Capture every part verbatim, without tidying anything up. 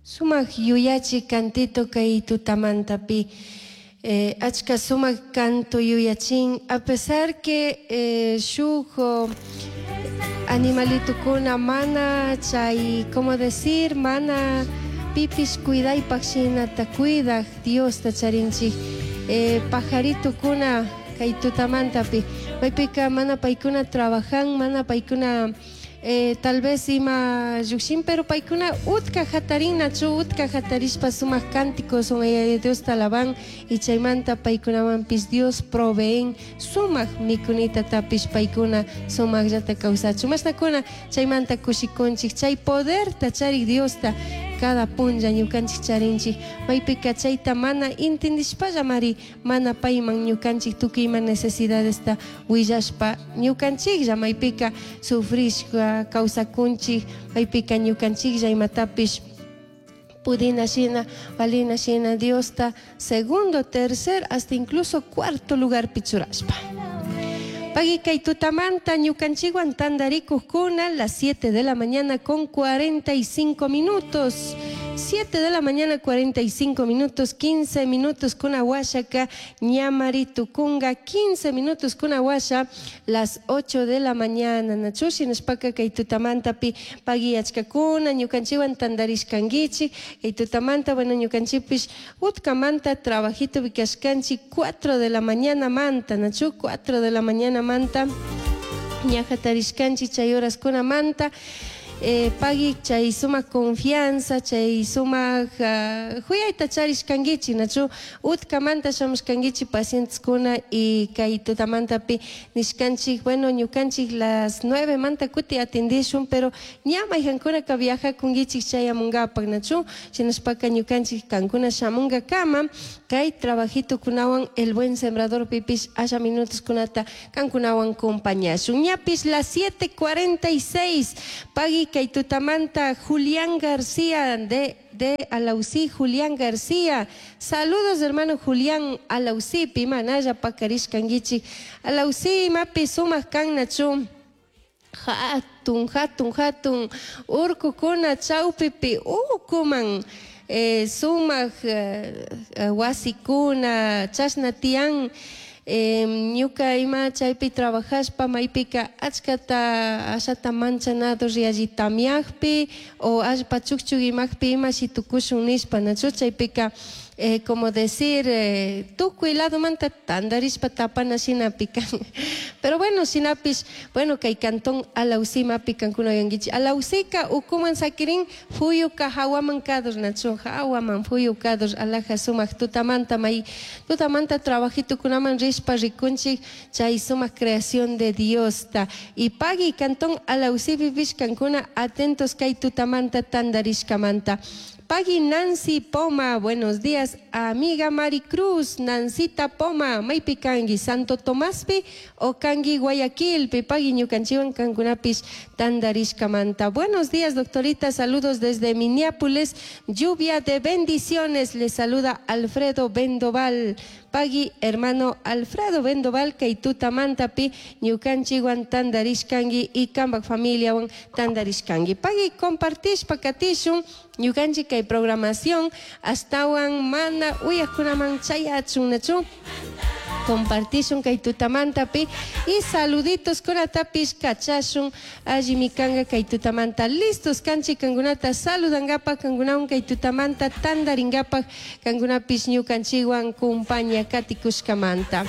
Sumak yuyachi cantito kay tutamantapi eh, achka sumak canto yuyachin a pesar que eh, shuk oh, animalitukuna mana chay como decir mana pipish cuidaypaq shinata cuidak Diosta charinchik eh, pajaritukuna kay tutamantapi maypika mana paykuna trabajan mana paykuna eh, tal vez ima llukshin pero paykuna utka hatarinachu utka hatarishpa sumak cánticos son Diosta alaban y chaymanta paykunawanpis Dios proveen sumak mikunita tapish paykuna sumakllata kawsachun mashnakuna chaymanta kushikunchik chay poderta charik Diosta cada punlla ñukanchik charinchik maypika chayta mana intindishpallamari mana payman ñukanchik tukuy ima necesidadesta willashpa ñukanchiklla maypika sufrishpa kawsakunchik maypika ñukanchiklla imatapish pudina shina valina shina Diosta segundo, tercer, hasta incluso cuarto lugarpi churashpa. Pagui kay tutamanta ñukanchikwan tandarikuqkuna las siete de la mañana con cuarenta y cinco minutos. siete de la mañana cuarenta y cinco minutos, quince minutos con aguayaca, ñamari tukunga, quince minutos con aguasha, las ocho de la mañana. Nachushi nishpaka kay tutamantapi pagui achkakuna, ñukanchikwan tandarishkankichik, kay tutamanta, bueno, ñukanchikpish utkamanta trabajito vikashkanchik cuatro de la mañana manta, nachu cuatro de la mañana manta, ña hatarishkanchik chay horaskunamanta. eh, pagui chay sumak confianza chay sumak uh, huyayta charishkankichik nachu utkamanta shamushkankichik pacienteskuna y kay tutamantapi nishkanchik bueno, ñukanchik las nueve manta kuti atendishun, pero ña mayjankunaka viajakunkichik chayamunkapak nachu shinashpaka ñukanchik kankuna shamunkakama kay trabajitukunawan El Buen Sembrador pipish asha minutoskunata kankunawan compañashun. Ñapish las siete cuarenta y seis. Pagui kay tutamanta Julián García de de Alausí. Julián García. Saludos, hermano Julián Alausí, pimanaya pakarishkankichik. Alausí, mapi sumak kan nachu. Hatun, hatun, hatun, urkukuna chawpipi ukuman eh, sumak eh, wasikuna, chashna tiyan. eh, ñuka ima chaypi trabajashpa maypika achkata ashata manchanado rialli tamiakpi o allpa chukchuk imakpi imashi tukushun nishpa nachu chaypika eh, como decir eh, tukuy ladomanta tandarishpa tapana shinapi kan. Pero bueno, shinapish, bueno, kay cantón Alausí mapi kankuna uyankichik. Alausika ukuman sakirin, fuyuka hawaman kadur nachu hawaman fuyu kadur alaja sumak tutamanta may tutamanta trabajitukunaman rishpa rikunchik chay sumak creación de Diosta. Y pagui cantón Alausí pipish kankuna atentos kay tutamanta tandarishkamanta. Pagui Nancy Poma, buenos días, amiga Maricruz, Nancita Poma, maypi kangi, Santo Tomaspi o kangi Guayaquilpi, pagui ñukanchiwan kankunapish tandarishkamanta. Buenos días, doctorita, saludos desde Minneapolis, lluvia de bendiciones, le saluda Alfredo Bendoval. Pagui, hermano Alfredo Bendoval, kay tutamantapi, ñukanchiwan tandarishkangi y kambak familiawan tandarishkangi. Pagui compartishpa katishun, ñukanchik kay programación astawan mana uyakunaman chayachun nachu compartishun kay tutamantapi y saluditos kunatapish kachashun allimi kanga kay tutamanta listos kanchik kankunata saludangapak kankunawan kay tutamanta tandaringapak kankunapish ñukanchikwan kumpaña katikushkamanta.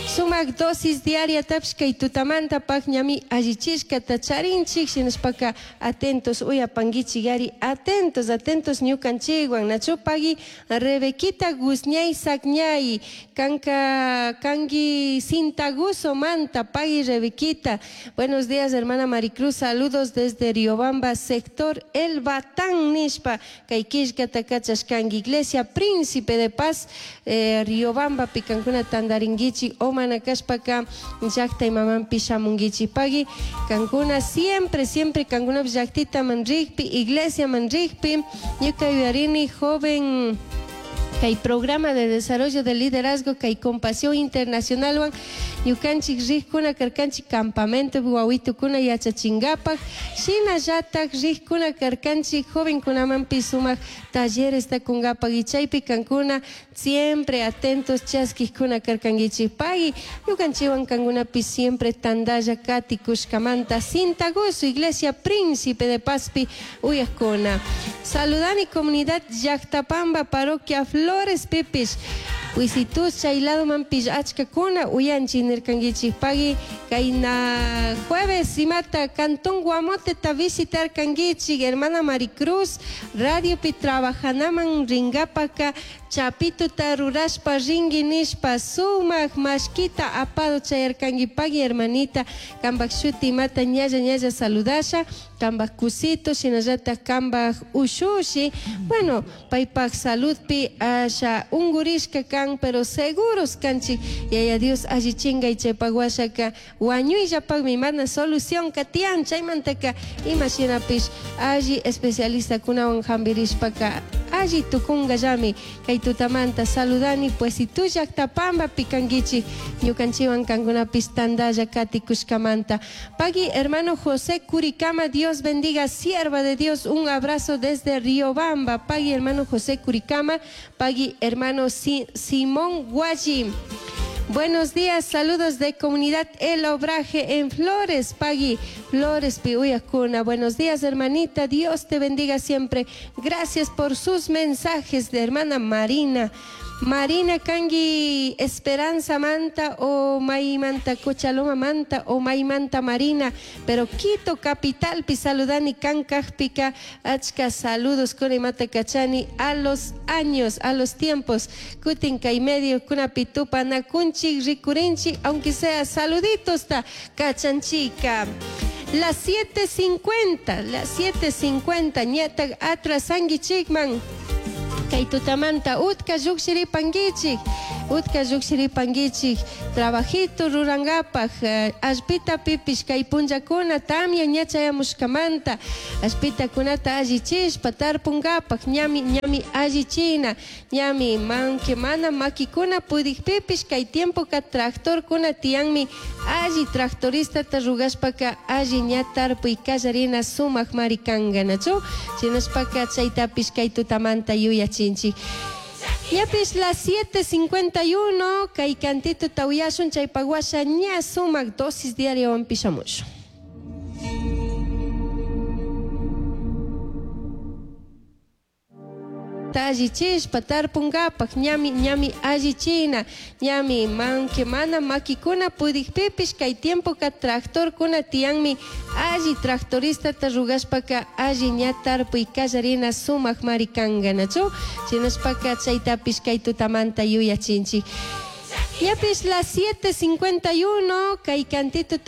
Sumak dosis diaria tapish kay tutamanta pak ñami allichishkata charinchik shinashpaka atentos uyapankichik ari atentos atentos ñukanchikwan nachu. Pagui Rebequita Guzñay Sakñay kanka kangi Sintaguso manta. Pagui Rebequita, buenos días, hermana Maricruz, saludos desde Riobamba, sector El Batán nishpa kay killkata kachashkanki. Iglesia Príncipe de Paz eh, Riobamba pi kankuna tandarinkichik o mana kashpaka llakta imamanpi shamunkichik. Pagui kankuna siempre siempre kankuna llaktitaman rikpi iglesiaman rikpi ñuka yuyarini joven kay programa de desarrollo de liderazgo kay Compasión Internacional wan Ñukanchik rikkuna karkanchik campamento wawitukuna yachachinkapak, shinallatak rikkuna karkanchik jovenkunamanpish sumak talleresta kunkapak y chaypi kankuna siempre atentos chaskikkuna karkankichik. Pagui ñukanchikwan kankunapish siempre tandalla katikushkamanta Cintagoso Iglesia Príncipe de Pazpi uyakuna. Saludani comunidad Llactapamba parroquia Flores pipish. Wisitus chay ladomanpish achkakuna uyanchik nirkankichik. Pagui kayna jueves imata Cantón Guamoteta visitarkankichik hermana Maricruz radiopi trabajanaman ringapaka chapituta rurashpa ringui nishpa sumak mashkita apado chayarkanki. Pagui hermanita kambak shuti imata ñalla ñalla saludasha kambak kusito shinallatak kambak ushushi. Bueno, paypak saludpi asha ungurishka kan, pero seguros kanchik Yaya Dios allichingay chaypak washaka wañuyllapakmi mana solución katiyan chaymantaka ima shinapish alli especialistakunawan hampirishpaka alli tukunkallami. Kay tutamanta saludani pues si tu llactapambapi kankichik ñukanchikwan kankunapish tandalla katikushkamanta. Pagui hermano José Curicama, Dios bendiga, sierva de Dios, un abrazo desde Riobamba. Pagui hermano José Curicama, pagui hermano Si- Simón Guayi. Buenos días, saludos de comunidad El Obraje en Flores, Pagui, Flores Piuyacuna. Buenos días, hermanita, Dios te bendiga siempre. Gracias por sus mensajes de hermana Marina. Marina Kangui, Esperanza Manta o Maimanta Cochaloma Manta o Maimanta Marina, pero Quito Capital pi saludani Kankajpica, achka saludos con mata kachani a los años, a los tiempos, kutin kay medio kuna pitupa nakunchi rikurinchi, aunque sea saluditos ta kachanchica. Las siete cincuenta, las siete cincuenta, ñata atrasanguichikman. Kay tutamanta utka llukshiripankichik, utka llukshiripankichik, trabajito rurankapak, eh, allpita pipish kay punllakuna tamya ña chayamushkamanta, allpitakunata allichishpa tarpunkapak, ñami, ñami allichina, ñami manque mana makikuna pudikpipish kay tiempoka tractorkuna tiyanmi, alli tractoristata rugashpaka alli ña tarpuy kallarina sumak mari kanka, nachu? Shinashpaka chaytapish kay tutamanta yuyachinchik. Ñapis las siete cincuenta y uno, kay cantito tawiyashun chaypak washa ña sumak dosis diaria pishamushun. Allichishpa tarpunkapak, ñami, ñami allichina, ñami manque mana makikuna pudikpipish kay tiempoka tractorkuna tiyanmi, alli tractoristata rugashpaka alli ña tarpuy kallarina sumak mari kanka, nachu? Shinashpaka chaytapish kay tutamanta yuyachinchik. Ñapis las siete cincuenta y uno, kay cantito